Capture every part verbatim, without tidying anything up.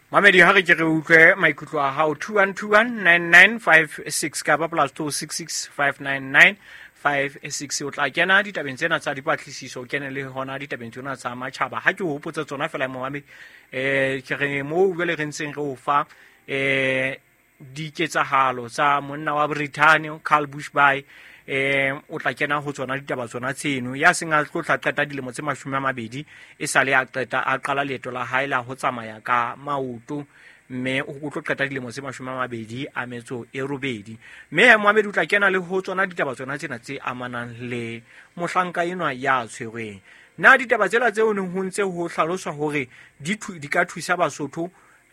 Mamedi, ha re ke re utlwe maikutlo a hao. Two one two one nine nine five six kapa plus two six six five nine nine five six. O tla kena ditabeng tsena tsa dipatlisiso, o kene le hona ditabeng tsena tsa matjhaba. Ha ke o hopotse tsona fela momamedi, eh ke re moo jwale re ntseng re o fa eh diketsahalo tsa monna wa Britain Karl Bushby, eh o tla kena ho tsona ditaba tsona tseno. Ya seng a tlo tla qeta dilemo tse mashome a mabedi e sale a qeta a qala leeto la hae la ho tsamaya ka maoto, mme o tlo qeta dilemo tse mashome a mabedi a metso e robedi. Mme Mohammed o tla kena le ho tsona ditaba tsona tsena tse amanang le mohlanka enwa ya tshwerweng. Na ditaba tsela tseo neng ho ntse ho hlaloswa hore di di ka thusa Basotho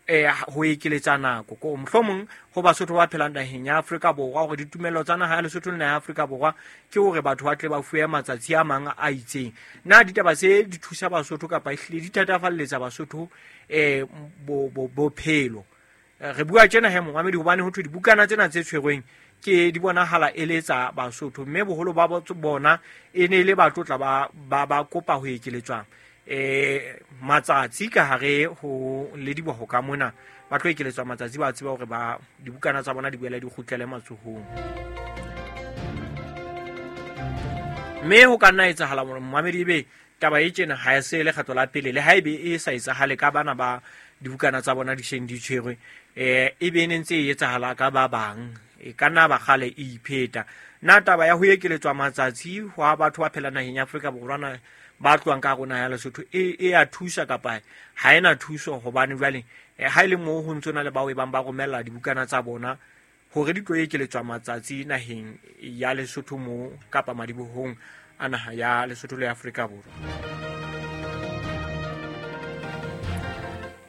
eh ho ekeletsa nako ko mohlomong ho Basotho ba phelang naheng ya Afrika Borwa, hore ditumelo tsa naha ya Lesotho le naha ya Afrika Borwa ke hore batho ba tle ba fuwe matsatsi a mang a itseng. Na ditaba tse di thusa Basotho kapa ehlile di thatafalletsa Basotho eh bo bophelo? Re bua tjena he momamedi hobane ho thwe dibukana tsena tse tshwerweng ke di bonahala e le tsa Basotho, mme boholo ba bona e ne le batho tla ba ba ba kopa ho ekeletswa eh matsatsi ka hare ho le diboho ka mona, ba tlo ekeletswa matsatsi, ba tseba hore ba dibukana tsa bona di boela di kgutlele matsohong. Mme ho ka nna etsahala hore momamedi ebe taba e tjena ha e se le kgetlo la pele, le ha ebe e sa etsahale ka bana ba dibukana tsa bona di seng di tshwerwe, eh e be ne ntse e etsahala ka ba bang, e ka nna ba kgale e ipheta. Na taba ya ho ekeletswa matsatsi hwa batho ba phelang naheng ya Afrika Borwa na ba tlohang ka rona ya Lesotho e e a thusa kapa ha ena thuso? Hobane jwale ha ile moo ho ntse na le bao e bang ba romella dibukana tsa bona hore di tlo ekeletswa matsatsi naheng ya Lesotho mo kapa madibohong a naha ya Lesotho le Afrika Borwa.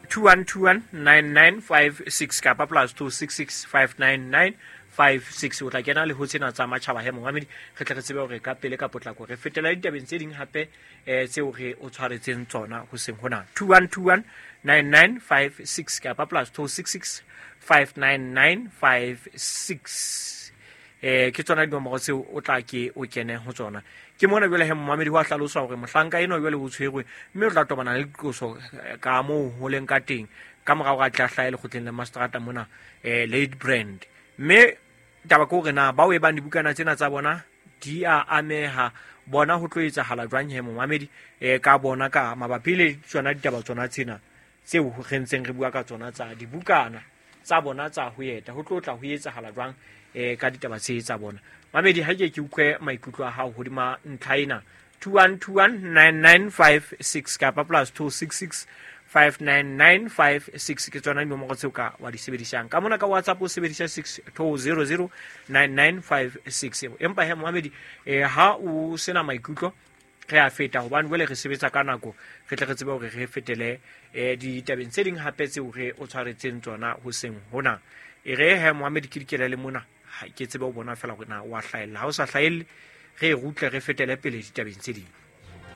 two one two one nine nine five six kapa plus two six six five nine nine five six. O tla kena le ho tsena tsa matjhaba he momamedi, re tle re tsebe hore ka pele ka potlako re fetela ditabeng tse ding hape eh tseo re o tshwaretseng tsona hoseng hona. two one two one nine nine five six kapa plus two six six five nine nine five six. Eh ke tsona dinomoro tseo o tla ke o kene ho tsona. Ke mona jwale he momamedi ho a hlaloswa hore mohlanka enwa jwale o tshwerwe mme o tla tobana le diqoso ka moo ho leng ka teng ka morao ga tla hlaha lekgotleng la mastrata mona eh Late Brand. Mme taba ke hore na bao e bang dibukana tsena tsa bona di a ameha, bona ho tlo etsahala jwang he momamedi eh ka bona ka mabapi le tsona ditaba tsona tsena tseo re ntseng re bua ka tsona tsa dibukana tsa bona tsa ho eta, ho tlo tla ho etsahala jwang eh ka ditaba tse tsa bona. Mamedi, ha ke ke utlwe maikutlo a hao hodima ntlha ena. two one two one nine nine five six kapa plus two six six five nine nine five six ke tsona dinomoro tseo ka wa di sebedisang. Ka mona ka WhatsApp o sebedisa six two zero zero nine nine five six. Empa he momamedi eh ha o sena maikutlo re a feta, hobane jwale re sebetsa ka nako, re tle re tsebe hore re fetele eh ditabeng tse ding hape tseo re o tshwaretseng tsona hoseng hona. E re he momamedi ke dikele le mona, ha ke tsebe o bona fela hore na wa hlahella, ha o sa hlahelle re rutle re fetele pele ditabeng tse ding.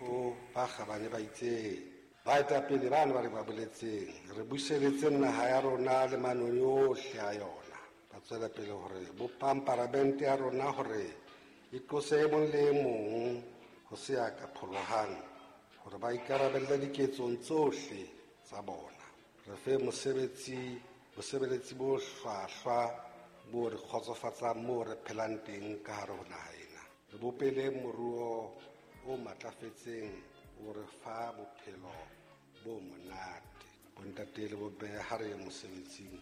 O ba kgabane ba itseng baetapele bana ba re ba boletseng re buseletse naha ya rona le manoni ohle a yona, ba tswela pele hore bopang paramente ya rona hore e qose e mong le e mong ho se ya ka pholohang hore ba ikarabelle diketsong tsohle tsa bona. Re fe mosebetsi bosebeletsi bo hlwahlwa bo re kgotsofatsang moo re phelang teng ka hare ho naha ena. Re bopele moruo o matlafetseng o re fa bophelo bo monate. Bontate le bomme ha re ye mosebetsing.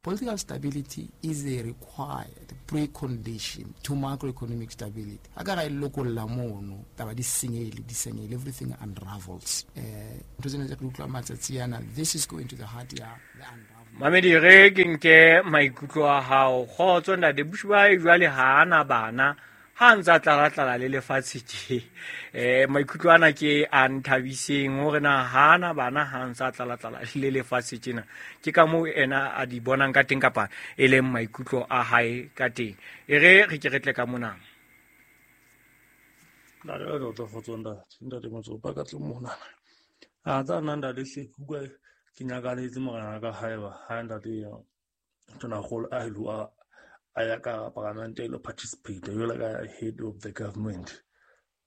Political stability is a required precondition to macroeconomic stability. A ka ra e lokolla mono, taba di senyehile, di senyehile, everything unravels. Eh, ntho tsena tse re utlwang matsatsi ana, this is going to the heart ya the unravel. Mamedi, re ke nke maikutlo a hao. Kgotso ntate Bushby jwale ha ana bana, ha ntsa tlala-tlala le lefatshe tje. Eh maikutlo ana ke a nthabiseng hore na ha ana bana ha ntsa tlala-tlala le lefatshe tjena. Ke ka moo ena a di bonang ka teng kapa e leng maikutlo a hae ka teng. E re re ke re tle ka mona. Ntate wa tlo kgotso ntate, ntate Motsopa ka tle mona. A tsa nna ntate hle ke utlwa ke nyakaletse morena ka haeba ha ntate ya Tonakgolo a ilo a ya ka paramente e lo participate jwalo ka head of the government.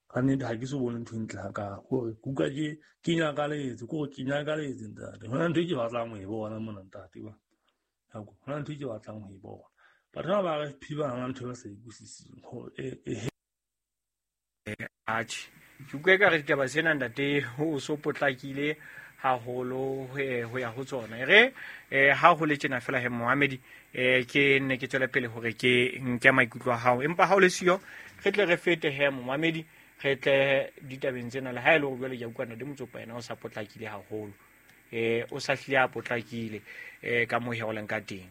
Ka nnete ha ke so bone ntho e ntle hakalo. Kore ke utlwa ke ke nyakaletse, kore ke nyakaletse ntate. Hona ntho e ke batlang ho e bona mona ntate wa. Ho na ntho e ke batlang ho e bona. Batho ba ba R F P ba na ntho e ba sa e utlwisising. E atjhe. Ke utlwa ekare ditaba tsena ntate ho so potlakile haholo ho ya ho tsona. E re ha ho le tjena fela he Mohamedi, eh ke nne ke tswele pele hore ke nke maikutlo a hao. Empa ha o le siyo re tle re fete he Mohamedi, re tle ditabeng tsena le ha e le hore jwale ke a utlwa ntate Motsopa yena o sa potlakile haholo. Eh o sa hlile a potlakile eh ka moo he o leng ka teng.